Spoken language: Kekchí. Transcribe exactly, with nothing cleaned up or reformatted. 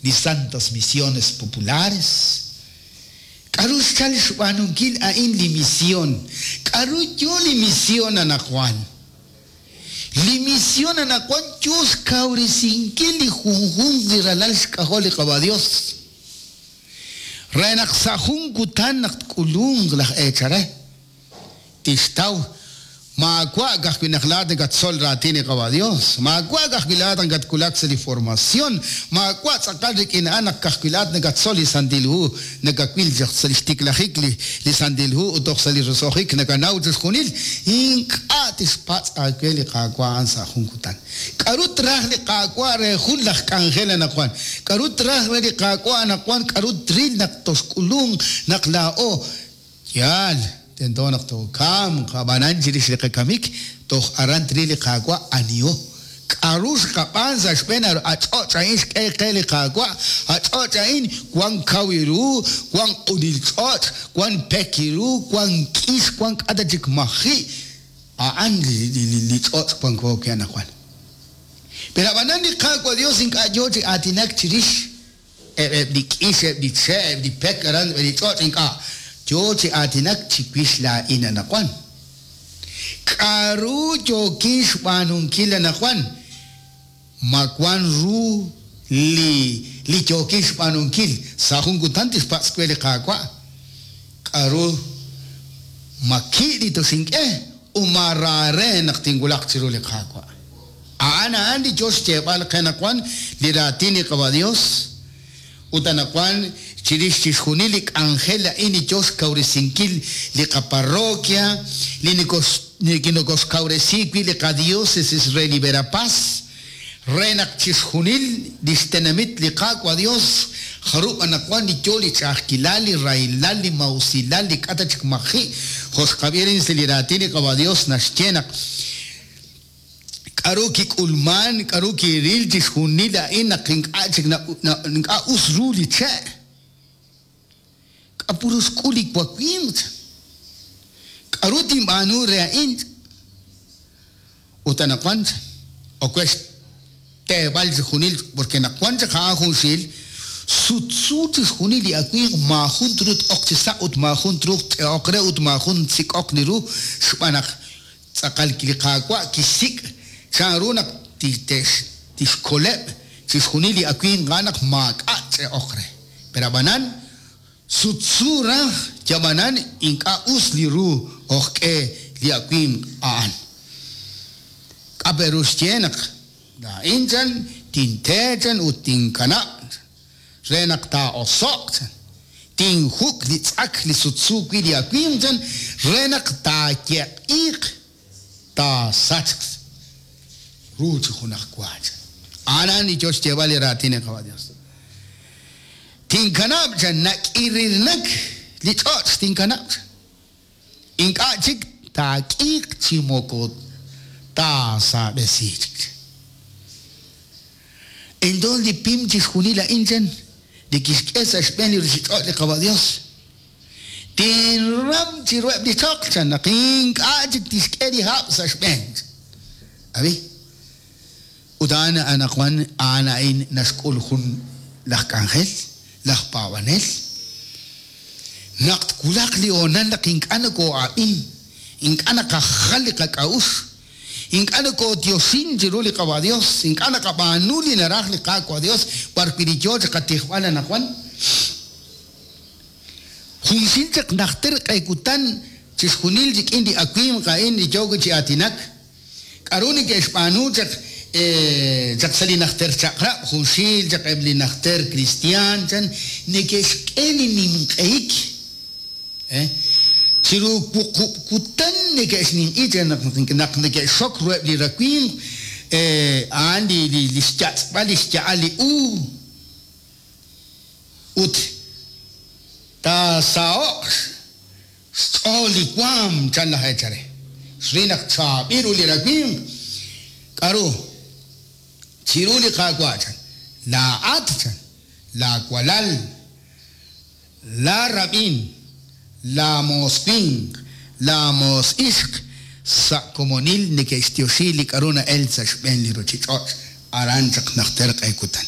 Li Santas Misiones Populares. K'aru xchal xb'aanunkil a'in li misión? K'aru yo li misión anaqwan? Li misión anaqwan yo xkawresinkil li junjunq li ralal xk'ajol li Qaawa' Dios. Re naq sa' jun kutan naq tk'ulunq laj eechal re, tixtaw maawa' ka'ajwi' naq laa'at nakatzol raatin li Qaawa' Dios, maawa' ka'ajwi' laa'at nakatwulak sa' li formación, maawa' tz'aqal rik'in a'an naq ka'ajwi' laa'at nakatzol li Santil Hu, nakawil chaq sa' li xtiklajik li li Santil Hu ut toj sa' li roso'jik nakanaw chixjunil, ink'a' tixpatz' aawe li Qaawa' a'an sa' jun kutan. K'aru traj li Qaawa' re jun laj k'anjel anaqwan? K'aru traj re li Qaawa' anaqwan? K'aru tril naq toxk'ulunq naq laa'o? Yaal, tento naq tookamq, ab'anan chirix li qakamik toj aran tril li Qaawa' aniho. K'aru xqab'aan sa' xb'een a ch'och' a'in xk'e qe li Qaawa'? A ch'och' a'in wan kaw ru, wan q'unil ch'och', wan pek ru, wan k'ix, wan k'ata chik maji'. A'an li li li ch'och' wanko wi' anaqwan. Pero ab'anan li Qaawa' Dios ink'a' yo chi aatinak chirix eb' eb' li k'ix, eb' li che', eb' li pek aran li ch'och' ink'a'. Yo chi aatinak chiwix laa'in anaqwan. K'aru yookin xb'aanunkil anaqwan? Ma wan ru li li yookin xb'aanunkil? Sa' jun kutan tixpatz' we li Qaawa'. K'aru ma ki' li toxink'e u ma raare naq tinwulaq chiru li Qaawa'. A'an a'an li yo xyeeb'al qe anaqwan li raatin li Qaawa' Dios. Ut anaqwan chirix chixjunil li k'anjel a'in li yo xkawresinkil li qaparroquia, li nokoxkawresi wi' li qadiócesis re li Verapaz, re naq chixjunil li xtenamit li Qaawa' Dios jarub' anaqwan li yo li ch'a'ajkilal, li rahilal, li mausilal, li k'ata chik maji'. Jo' xqab'i sa' li raatin li Qaawa' Dios naxye naq k'aru kik'ulman, k'aru kiril chixjunil a'in naq ink'a' chik ink'a' us ru li che'. K'apuru xk'ul li wawimq. K'aru tinb'aanu re a'in? Ut anaqwan okwe xteeb'al chixjunil porque naq wan chaq a'an junxil sutsu chixjunil li awimq maajun truuq t'oq chi sa' ut maajun truuq t'e'oq re ut maajun tsik'oq li ru xb'aan naq tz'aqal li Qaawa' kixsik' chanru naq tixkoleb' chixjunil li awimq a'an naq maak'a' ch'e'oq re. Pero ab'anan sutsu raj yab'anan ink'a' us li ru ojk'e li awimq a'an. K'aperu xye naq laa'in chan tinteechan ut tinkanab' re naq taa'oso'q chan tinjuk' li tz'ak li sutsu wi' li awimq chan re naq taayeq'iiq taasachq ru chi junaj wa chan. A'an li yo xyeeb'al li raatin li Qaawa' Dios. Tinkanab' chan nak'irirnak li ch'och' tinkanab' chan. Ink'a' chik taak'iiq chi moko taasab'esi chik. Entonces li pim chixjunil a'in chan li kixk'e sa' xb'een li ruuchich'och' li Qaawa' Dios. Tinram chiruheb' li choql chan naq ink'a' chik tixk'e li hab' sa' xb'een. Abi? Ut a'an anaqwan a'an a'in naxk'ul jun laj k'anjel, laj paab'anel. Naq twulaq li hoonal naq ink'a' nokoo'ab'in, ink'a' naqajal li qak'a'uxl, ink'a' nokooyoxin chiru li Qaawa' Dios, ink'a' naqab'aanu li naraj li Qaawa' Dios b'arwi' li yo chi qatijb'al anaqwan. Junxil chaq najter q'e kutan chixjunil rik'in li awimq a'in li yo chi aatinak. K'aru neke'xb'aanu chaq chaq sa' li najter chaq'rab', junxil chaq eb' li najter cristian chan neke'xk'e li nimq'ehik. Chiru wuqub' kutan neke'xninq'i chan naq naq neke'xok ruheb' li rawimq, a'an li li xyatz'b'al li xya'al li uub'. Ut taasaho'q xch'ool li waam chan laj eechal re. Xril naq chaab'il ru li rawimq. K'aru? Chiru li Qaawa' chan. Laa'at chan, laawalal, laarab'in, laamoos winq, laamoos ixq sa' komonil neke'xtioxi li k'aru na'el sa' xb'een li ruuchich'och' aran chaq najter q'e kutan.